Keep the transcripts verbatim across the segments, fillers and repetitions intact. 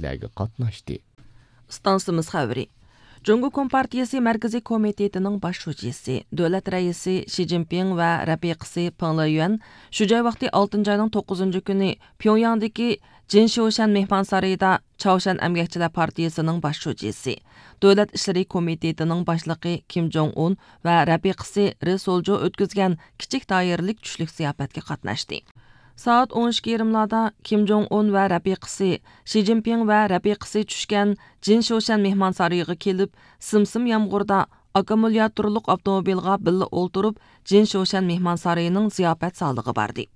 پائالىيەتلەرگە قاتناشتى. ئىستانسىمىز خەۋىرى. جۇڭگو كومپارتىيىسى مەركىزىي كومىتېتىنىڭ باش شۇجىسى، دۆلەت رەئىسى شى جىنپىڭ ۋە رەپىقىسى پېڭ لېيۈەن شۇ جاي ۋاقتى ئالتىنچى ئاينىڭ توققۇزىنچى كۈنى پيۇڭياڭدىكى جىنشيۇشەن مېھمانسارىيىدا چاۋشيەن ئەمگەكچىلەر پارتىيىسىنىڭ باش شۇجىسى، دۆلەت ئىشلىرى كومىتېتىنىڭ باشلىقى كىم جوڭ ئۇن ۋە رەپىقىسى رى سولجو ئۆتكۈزگەن كىچىك دائىرىلىك چۈشلۈك زىياپەتكە قاتناشتى. سائەت ئون ئىككى يېرىملاردا كىم جوڭ ئۇن ۋە رەپىقىسى، شى جىنپىڭ ۋە رەپىقىسى چۈشكەن جىنشيۇشەن مېھمانسارىيىغا كېلىپ، سىم-سىم يامغۇردا ئاككۇمۇلياتورلۇق ئاپتوموبىلغا بىللە ئولتۇرۇپ، جىنشيۇشەن مېھمانسارىيىنىڭ زىياپەت زالىغا باردى.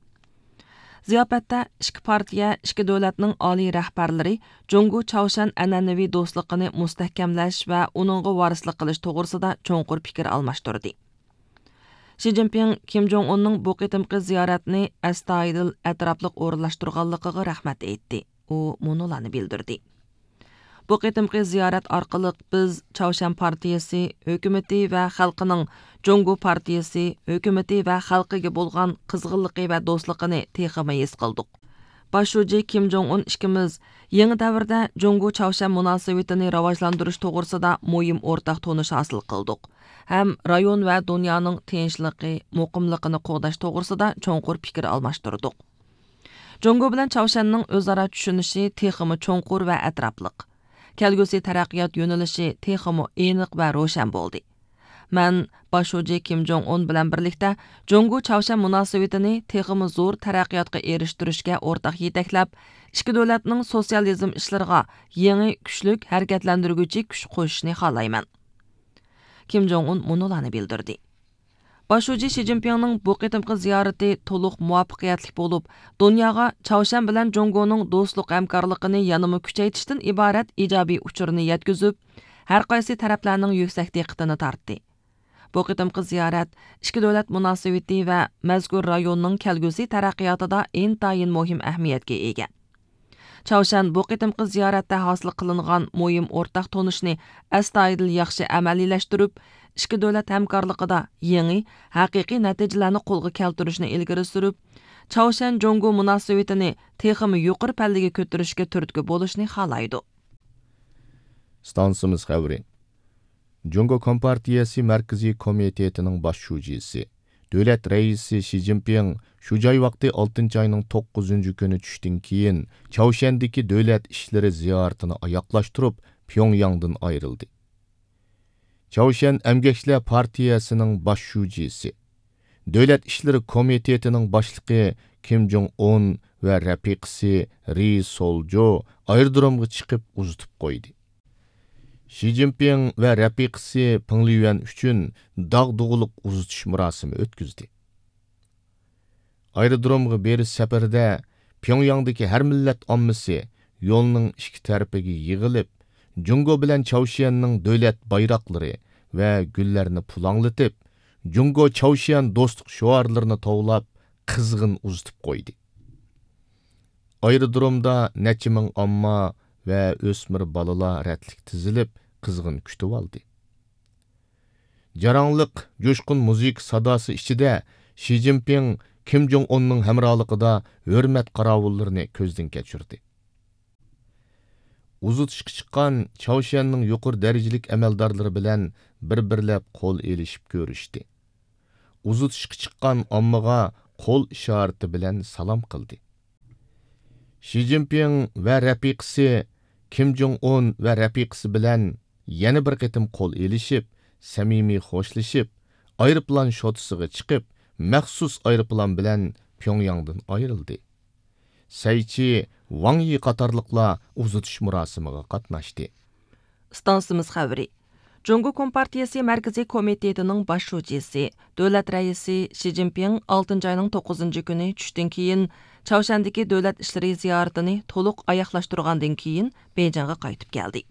زىياپەتتە ئىككى پارتىيە، ئىككى دۆلەتنىڭ ئالىي رەھبەرلىرى جۇڭگو چاۋشيەن ئەنئەنىۋى دوستلۇقىنى مۇستەھكەملەش ۋە ئۇنىڭغا ۋارىسلىق قىلىش توغرىسىدا چوڭقۇر پىكىر ئالماشتۇردى. شى جىنپىڭ كىم جوڭ ئۇننىڭ بۇ قېتىمقى زىيارەتنى ئەستايىدىل، ئەتراپلىق ئورۇنلاشتۇرغانلىقىغا رەھمەت ئېيتتى. ئۇ مۇنۇلارنى بىلدۈردى: بۇ قېتىمقى زىيارەت ئارقىلىق بىز چاۋشيەن پارتىيىسى ھۆكۈمىتى ۋە خەلقىنىڭ جۇڭگو پارتىيىسى ھۆكۈمىتى ۋە خەلقىگە بولغان قىزغىنلىقى ۋە دوستلۇقىنى تېخىمۇ ھېس قىلدۇق. باش شۇجى كىم جوڭ ئۇن ئىككىمىز يېڭى دەۋردە جۇڭگو چاۋشيەن مۇناسىۋىتىنى راۋاجلاندۇرۇش توغرىسىدا مۇھىم ئورتاق تونۇش ھاسىل قىلدۇق ھەم رايون ۋە دۇنيانىڭ تىنچلىقى، مۇقىملىقىنى قوغداش توغرىسىدا چوڭقۇر پىكىر ئالماشتۇردۇق. جۇڭگو بىلەن چاۋشيەننىڭ ئۆزئارا چۈشىنىشى تېخىمۇ چوڭقۇر ۋە ئەتراپلىق. كەلگۈسى تەرەققىيات يۆنىلىشى تېخىمۇ ئېنىق ۋە روشەن بولدى. مەن باش شۇجى كىم جوڭ ئۇن بىلەن بىرلىكتە جۇڭگو چاۋشيەن مۇناسىۋىتىنى تېخىمۇ زور تەرەققىياتقا ئېرىشتۈرۈشكە ئورتاق يېتەكلەپ، ئىككى دۆلەتنىڭ سوتسىيالىزم ئىشلىرىغا يېڭى كۈچلۈك ھەرىكەتلەندۈرگۈچى كۈچ قوشۇشىنى خالايمەن. كىم جوڭ ئۇن مۇنۇلارنى بىلدۈردى. باش شۇجى شى جىنپىڭنىڭ بۇ قېتىمقى زىيارىتى تولۇق مۇۋەپپەقىيەتلىك بولۇپ، دۇنياغا چاۋشيەن بىلەن جۇڭگونىڭ دوستلۇق ھەمكارلىقىنى يەنىمۇ كۈچەيتىشتىن ئىبارەت ئىجابىي ئۇچۇرنى يەتكۈزۈپ، ھەر قايسى تەرەپلەرنىڭ يۈكسەك دىققىتىنى تارتتى. بۇ قېتىمقى زىيارەت ئىككى دۆلەت مۇناسىۋىتى ۋە مەزكۇر رايوننىڭ كەلگۈسى تەرەققىياتىدا ئىنتايىن مۇھىم ئەھمىيەتكە ئىگە. چاۋشيەن بۇ قېتىمقى زىيارەتتە ھاسىل قىلىنغان مۇھىم ئورتاق تونۇشنى ئەستايىدىل ياخشى ئەمەلىيلەشتۈرۈپ، ئىككى دۆلەت ھەمكارلىقىدا يېڭى، ھەقىقىي نەتىجىلەرنى قولغا كەلتۈرۈشنى ئىلگىرى سۈرۈپ، چاۋشيەن جۇڭگو مۇناسىۋىتىنى تېخىمۇ يۇقىرى پەللىگە كۆتۈرۈشكە تۈرتكە بولۇشنى خالايدۇ. ئىستانسىمىز خەۋىرى. جۇڭگو كومپارتىيەسى مەركىزىي كومىتېتىنىڭ باش شۇجىسى، دۆلەت رەئىسى شى جىنپىڭ شۇ جاي ۋاقتى ئالتىنچى ئاينىڭ توققۇزىنچى كۈنى چۈشتىن كېيىن، چاۋشيەندىكى دۆلەت ئىشلىرى زىيارىتىنى ئاياغلاشتۇرۇپ، پيۇڭياڭدىن ئايرىلدى. چاۋشيەن ئەمگەكچىلەر پارتىيەسىنىڭ باش شۇجىسى، دۆلەت ئىشلىرى كومىتېتىنىڭ باشلىقى كىم جوڭ ئۇن ۋە رەپىقىسى رى سولجو ئايرودرومغا چىقىپ ئۇزىتىپ قويدى. شى جىنپىڭ ۋە رەپىقىسى پېڭ لىيۈەن ئۈچۈن داغدۇغىلىق ئۇزىتىش مۇراسىمى ئۆتكۈزدى. ئايرودرومغا بېرىش سەپىرىدە پيۇڭياڭدىكى ھەر مىللەت ئاممىسى يولنىڭ ئىككى تەرىپىگە يىغىلىپ، جۇڭگو بىلەن چاۋشيەننىڭ دۆلەت بايراقلىرى ۋە گۈللەرنى پۇلاڭلىتىپ، جۇڭگو چاۋشيەن دوستلۇق شوئارلىرىنى توۋلاپ، قىزغىن ئۇزىتىپ قويدى. ئايرودرومدا نەچچە مىڭ ئامما ۋە ئۆسمۈر بالىلار رەتلىك تىزىلىپ، قىزغىن كۈتۈۋالدى. جاراڭلىق، جۇشقۇن مۇزىكا ساداسى ئىچىدە شى جىنپىڭ كىم جوڭ ئۇننىڭ ھەمراھلىقىدا ھۆرمەت قاراۋۇللىرىنى كۆزدىن كەچۈردى. ئۇزىتىشقا چىققان چاۋشيەننىڭ يۇقىرى دەرىجىلىك ئەمەلدارلىرى بىلەن بىر-بىرلەپ قول ئېلىشىپ كۆرۈشتى. ئۇزىتىشقا چىققان ئاممىغا قول ئىشارىتى بىلەن سالام قىلدى. شى جىنپىڭ ۋە رەپىقىسى كىم جوڭ ئۇن ۋە رەپىقىسى بىلەن يەنە بىر قېتىم قول ئېلىشىپ، سەمىمىي خوشلىشىپ، ئايروپىلان شوتىسىغا چىقىپ، مەخسۇس ئايروپىلان بىلەن پيۇڭياڭدىن ئايرىلدى. سەيچى، ۋاڭ يى قاتارلىقلار ئۇزىتىش مۇراسىمىغا قاتناشتى. ئىستانسىمىز خەۋىرى. جۇڭگو كومپارتىيىسى مەركىزىي كومىتېتىنىڭ باش شۇجىسى، دۆلەت رەئىسى شى جىنپىڭ ئالتىنچى ئاينىڭ توققۇزىنچى كۈنى چۈشتىن كېيىن، چاۋشيەندىكى دۆلەت ئىشلىرى زىيارىتىنى تولۇق ئاياغلاشتۇرغاندىن كېيىن، بېيجىڭغا قايتىپ كەلدى.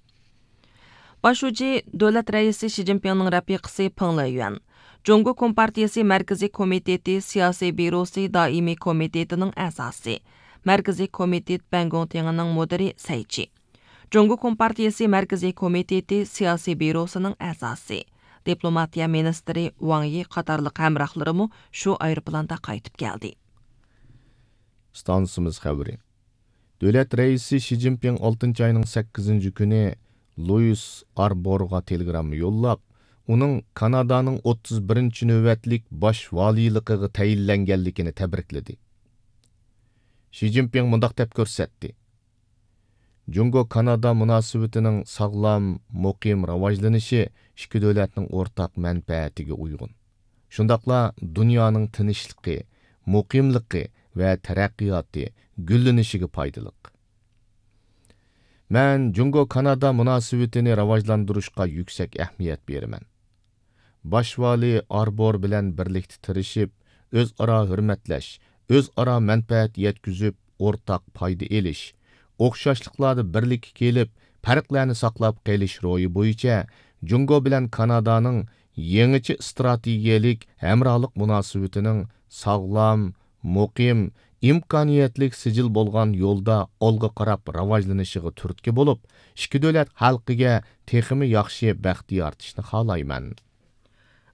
باش شۇجى دۆلەت رەئىسى شى جىنپىڭنىڭ رەپىقىسى پېڭ لېيۈەن، جۇڭگو كومپارتىيىسى مەركىزىي كومىتېتى سىياسىي بيۇروسى دائىمىي كومىتېتىنىڭ ئەزاسى، مەركىزىي كومىتېت بەنگوڭتىڭىنىڭ مۇدىرى سەيچى، جۇڭگو كومپارتىيىسى مەركىزىي كومىتېتى سىياسىي بيۇروسىنىڭ ئەزاسى، دىپلوماتىيە مىنىستىرى ۋاڭ يى قاتارلىق ھەمراھلىرىمۇ شۇ ئايروپىلاندا قايتىپ كەلدى. ئىستانسىمىز خەۋىرى. دۆلەت رەئىسى شى جىنپىڭ ئالتىنچى ئاينىڭ سەككىزىنچى كۈنى لويىس ئاربورغا تېلېگرامما يوللاپ، ئۇنىڭ كانادانىڭ ئوتتۇز بىرىنچى نۆۋەتلىك باش ۋالىيلىقىغا تەيىنلەنگەنلىكىنى تەبرىكلىدى. شى جىنپىڭ مۇنداق دەپ كۆرسەتتى: جۇڭگو كانادا مۇناسىۋىتىنىڭ ساغلام، مۇقىم راۋاجلىنىشى ئىككى دۆلەتنىڭ ئورتاق مەنپەئەتىگە ئۇيغۇن. شۇنداقلا دۇنيانىڭ تىنچلىقى، مۇقىملىقى ۋە تەرەققىياتى، گۈللىنىشىگە پايدىلىق. مەن جۇڭگو كانادا مۇناسىۋىتىنى راۋاجلاندۇرۇشقا يۈكسەك ئەھمىيەت بېرىمەن. باش ۋالىي ئاربور بىلەن بىرلىكتە تىرىشىپ، ئۆزئارا ھۆرمەتلەش، ئۆزئارا مەنپەئەت يەتكۈزۈپ، ئورتاق پايدا ئېلىش، ئوخشاشلىقلاردا بىرلىككە كېلىپ، پەرقلەرنى ساقلاپ قېلىش روھى بويىچە جۇڭگو بىلەن كانادانىڭ يېڭىچە ئىستراتېگىيەلىك ھەمراھلىق مۇناسىۋىتىنىڭ ساغلام، مۇقىم، ئىمكانىيەتلىك سىجىل بولغان يولدا ئالغا قاراپ راۋاجلىنىشىغا تۈرتكە بولۇپ، ئىككى دۆلەت خەلقىگە تېخىمۇ ياخشى بەخت يارىتىشنى خالايمەن.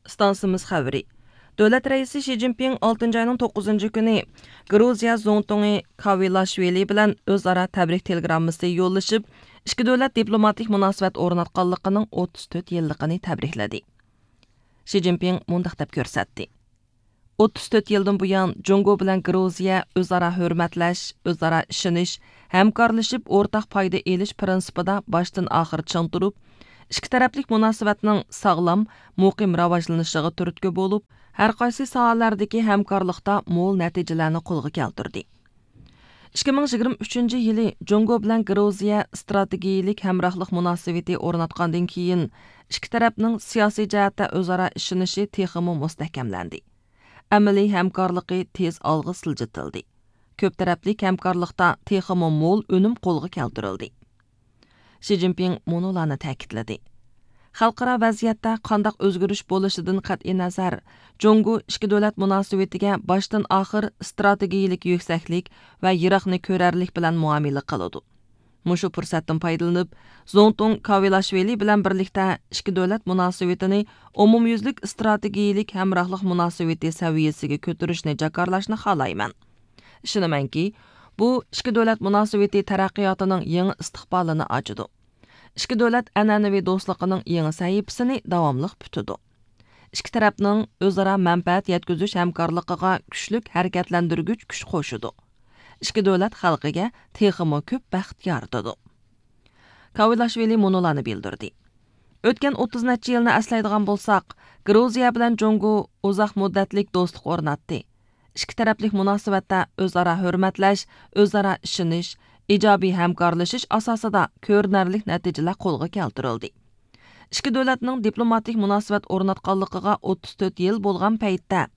ئىستانسىمىز خەۋىرى. دۆلەت رەئىسى شى جىنپىڭ ئالتىنچى ئاينىڭ توققۇزىنچى كۈنى گرۇزىيە زۇڭتۇڭى كاۋىلاشۋىلى بىلەن ئۆزئارا تەبرىك تېلېگراممىسى يوللىشىپ، ئىككى دۆلەت دىپلوماتىك مۇناسىۋەت ئورناتقانلىقىنىڭ ئوتتۇز تۆت يىللىقىنى تەبرىكلىدى. شى جىنپىڭ مۇنداق دەپ كۆرسەتتى: ئوتتۇز تۆت يىلدىن بۇيان، جۇڭگو بىلەن گرۇزىيە ئۆزئارا ھۆرمەتلەش، ئۆزئارا ئىشىنىش، ھەمكارلىشىپ ئورتاق پايدا ئېلىش پىرىنسىپىدا باشتىن ئاخىر چىڭ تۇرۇپ، ئىككى تەرەپلىك مۇناسىۋەتنىڭ ساغلام، مۇقىم راۋاجلىنىشىغا تۈرتكە بولۇپ، ھەر قايسى ساھەلەردىكى ھەمكارلىقتا مول نەتىجىلەرنى قولغا كەلتۈردى. ئىككى مىڭ يىگىرمە ئۈچىنچى يىلى جۇڭگو بىلەن گرۇزىيە ئىستراتېگىيىلىك ھەمراھلىق مۇناسىۋىتى ئورناتقاندىن كېيىن، ئىككى تەرەپنىڭ سىياسىي جەھەتتە ئۆزئارا ئىشىنىشى تېخىمۇ مۇستەھكەملەندى. ئەمەلىي ھەمكارلىقى تېز ئالغا سىلجىتىلدى. كۆپ تەرەپلىك ھەمكارلىقتا تېخىمۇ مول ئۈنۈم قولغا كەلتۈرۈلدى. شى جىنپىڭ مۇنۇلارنى تەكىتلىدى: خەلقئارا ۋەزىيەتتە قانداق ئۆزگىرىش بولۇشىدىن قەتئىينەزەر، جۇڭگو ئىككى دۆلەت مۇناسىۋىتىگە باشتىن ئاخىر ئىستراتېگىيىلىك يۈكسەكلىك ۋە يىراقنى كۆرەرلىك بىلەن مۇئامىلە قىلىدۇ. مۇشۇ پۇرسەتتىن پايدىلىنىپ، زۇڭتۇڭ كاۋىلاشۋىلى بىلەن بىرلىكتە ئىككى دۆلەت مۇناسىۋىتىنى ئومۇميۈزلۈك ئىستراتېگىيىلىك ھەمراھلىق مۇناسىۋىتى سەۋىيەسىگە كۆتۈرۈشنى جاكارلاشنى خالايمەن. ئىشىنىمەنكى، بۇ ئىككى دۆلەت مۇناسىۋىتى تەرەققىياتىنىڭ يېڭى ئىستىقبالىنى ئاچىدۇ. ئىككى دۆلەت ئەنئەنىۋى دوستلۇقىنىڭ يېڭى سەھىپىسىنى داۋاملىق پۈتىدۇ. ئىككى تەرەپنىڭ ئۆزئارا مەنپەئەت يەتكۈزۈش ھەمكارلىقىغا كۈچلۈك ھەرىكەتلەندۈرگۈچ كۈچ قوشىدۇ. ئىككى دۆلەت خەلقىگە تېخىمۇ كۆپ بەخت يارىتىدۇ. كاۋىلاشۋىلى مۇنۇلارنى بىلدۈردى: ئۆتكەن ئوتتۇز نەچچە يىلنى ئەسلەيدىغان بولساق، گرۇزىيە بىلەن جۇڭگو ئۇزاق مۇددەتلىك دوستلۇق ئورناتتى. ئىككى تەرەپلىك مۇناسىۋەتتە ئۆزئارا ھۆرمەتلەش، ئۆزئارا ئىشىنىش، ئىجابىي ھەمكارلىشىش ئاساسىدا كۆرۈنەرلىك نەتىجىلەر قولغا كەلتۈرۈلدى. ئىككى دۆلەتنىڭ دىپلوماتىك مۇناسىۋەت ئورناتقانلىقىغا ئوتتۇز تۆت يىل بولغان پەيتتە،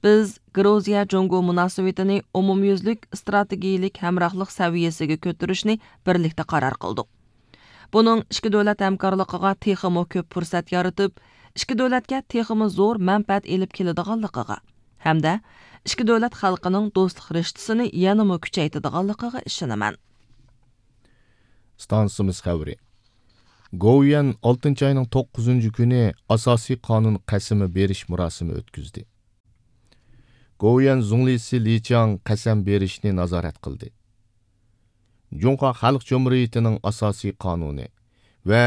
بىز گرۇزىيە جۇڭگو مۇناسىۋىتىنى ئومۇميۈزلۈك ئىستراتېگىيىلىك ھەمراھلىق سەۋىيەسىگە كۆتۈرۈشنى بىرلىكتە قارار قىلدۇق. بۇنىڭ ئىككى دۆلەت ھەمكارلىقىغا تېخىمۇ كۆپ پۇرسەت يارىتىپ، ئىككى دۆلەتكە تېخىمۇ زور مەنپەئەت ئېلىپ كېلىدىغانلىقىغا ھەمدە ئىككى دۆلەت خەلقىنىڭ دوستلۇق رىشتىسىنى يەنىمۇ كۈچەيتىدىغانلىقىغا ئىشىنىمەن. ئىستانسىمىز خەۋىرى. گوۋۇيۈەن ئالتىنچى ئاينىڭ توققۇزىنچى كۈنى ئاساسىي قانۇن قەسىمى بېرىش مۇراسىمى ئۆتكۈزدى. گوۋۇيۈەن زۇڭلىسى لى چياڭ قەسەم بېرىشنى نازارەت قىلدى. جۇڭخۇا خەلق جۇمھۇرىيىتىنىڭ ئاساسىي قانۇنى ۋە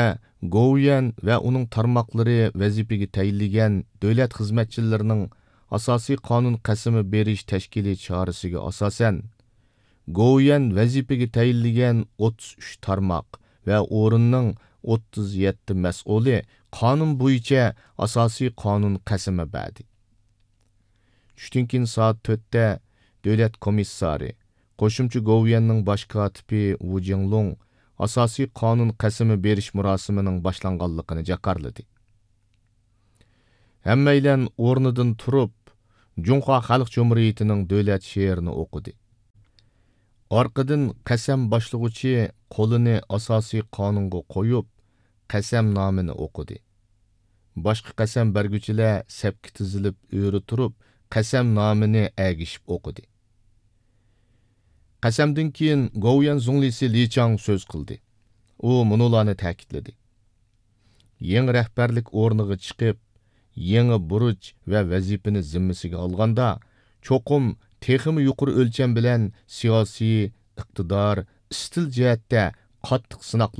گوۋۇيۈەن ۋە ئۇنىڭ تارماقلىرى ۋەزىپىگە تەيىنلىگەن دۆلەت خىزمەتچىلىرىنىڭ ئاساسىي قانۇن قەسىمى بېرىش تەشكىلىي چارىسىگە ئاساسەن، گوۋۇيۈەن ۋەزىپىگە تەيىنلىگەن ئوتتۇز ئۈچ تارماق ۋە ئورۇننىڭ ئوتتۇز يەتتە مەسئۇلى قانۇن بويىچە ئاساسىي قانۇن قەسىمى بەردى. چۈشتىن كېيىن سائەت تۆتتە دۆلەت كومىسسارى، قوشۇمچە گوۋۇيۈەننىڭ باش كاتىپى ۋۇ جىڭلۇڭ ئاساسىي قانۇن قەسىمى بېرىش مۇراسىمىنىڭ باشلانغانلىقىنى جاكارلىدى. ھەممەيلەن ئورنىدىن تۇرۇپ، جۇڭخۇا خەلق جۇمھۇرىيىتىنىڭ دۆلەت شېئىرىنى ئوقۇدى. ئارقىدىن قەسەم باشلىغۇچى قولىنى ئاساسىي قانۇنغا قويۇپ، قەسەمنامىنى ئوقۇدى. باشقا قەسەم بەرگۈچىلەر سەپكە تىزىلىپ ئۆرە تۇرۇپ، قەسەمنامىنى ئەگىشىپ ئوقۇدى. قەسەمدىن كېيىن گوۋۇيۈەن زۇڭلىسى لى چياڭ سۆز قىلدى. ئۇ مۇنۇلارنى تەكىتلىدى: يېڭى رەھبەرلىك ئورنىغا چىقىپ، يېڭى بۇرچ ۋە ۋەزىپىنى زىممىسىگە ئالغاندا، چوقۇم تېخىمۇ يۇقىرى ئۆلچەم بىلەن سىياسىي، ئىقتىدار، ئىستىل جەھەتتە قاتتىق سىناق